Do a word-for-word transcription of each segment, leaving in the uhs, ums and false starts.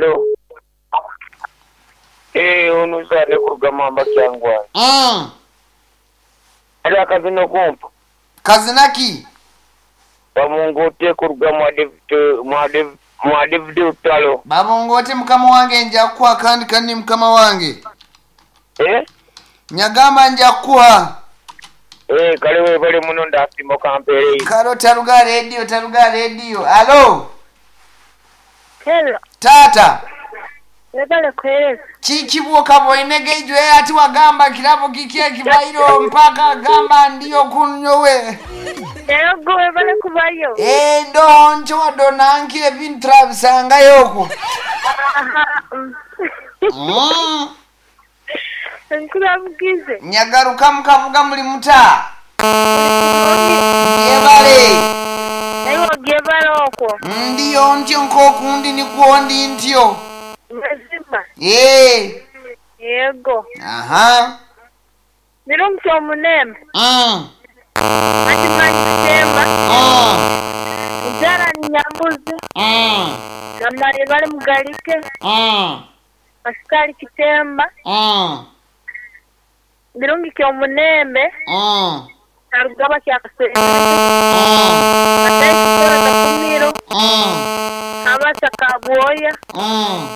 Hello. Eh, ono zane kuruga mamba kyangwani. Mm. Ali akazina kumpa. Kazina ki? Bamungote kuruga mwa David mwa David mwa David Utalo. Babongote mukama wange nja kukuha kandi kandi mukama wange. Eh? Nyagamba nja kukuha. Eh, kale webale muno ndasima kampere. Kalo taruga radio taruga radio. Alo. Hello, Tata. webale kuhereza. Kikibwoka bwoinege ijwe ati wagamba kirabo kiki ekibairo mpaka gamba ndiyo kunyowe. Yego webale kubayo. Eh ndo ncho wadonanki ebintu trabisangayo Aha. mm. Mm. Nkurabugize. Nyagaruka mukavuga muli muta. Yebale. Naye ogiye okwo. Ndiyo ntyo nkokundi nikwo ndi ntyo. Mazima. Eh. Yego. Aha. Birungi omunembe. Mm. Ati manyi kitemba. Mm. Nzara ni nyambuzi. Mm. Namale bali mugalike. Mm. Asikali kitemba. Mm. Birungi kyomunembe. Mm. Arugaba kyakasere. Mm. Atayi kitoro takumiro. Mm. Abasa kabwoya. Mm.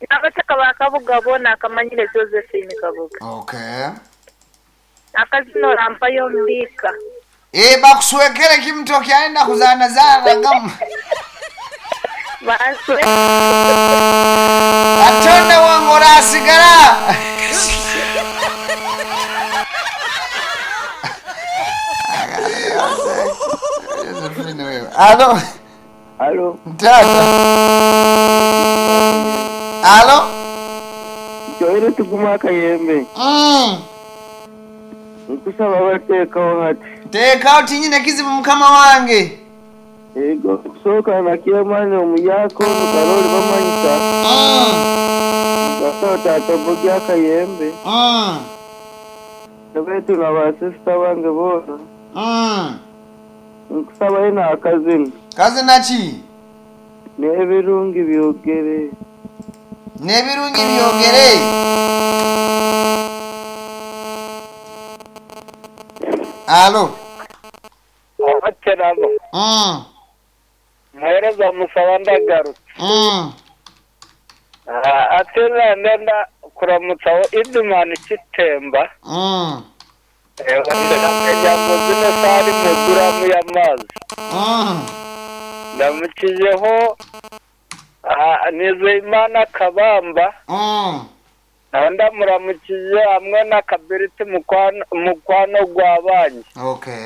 Abataka bakabuga bona akamanyire Josephine Kabuga. Okay. Akazina orampayo mbika. Eh bakuswekere kimtoki aenda kuzana zana gamu. Baswe. Atonde wangu orasigara. Josephine wewe. Alo. Alo. Tata. Alo. Joire tuguma akayembe. Mm. Nkusaba bateekawo hati. Teekawo tinyine kizibu mukama wange. Ego kusooka nakyemanya omuyako nukaroli bamanyisa. Mm. Gasaba tata bogi akayembe. Mm. Nabetu na basisita bange boona. Mm. Nkusaba ina akazina. Kazina ki? N'ebirungi byogere. N'ebirungi byogere. Alo. Abaterabo. Mm. Muhereza musaba ndagarutse. Mm. Ate nenda kuramutsaho Idumani Kitemba. Mm. Jambo zino sari muguramu y'amazi. Mm. Ndamukijeho Nizeyimana Kabamba. Mm. Nawe ndamuramukije hamwe na Kabiriti mukwano gwa banki. Okay.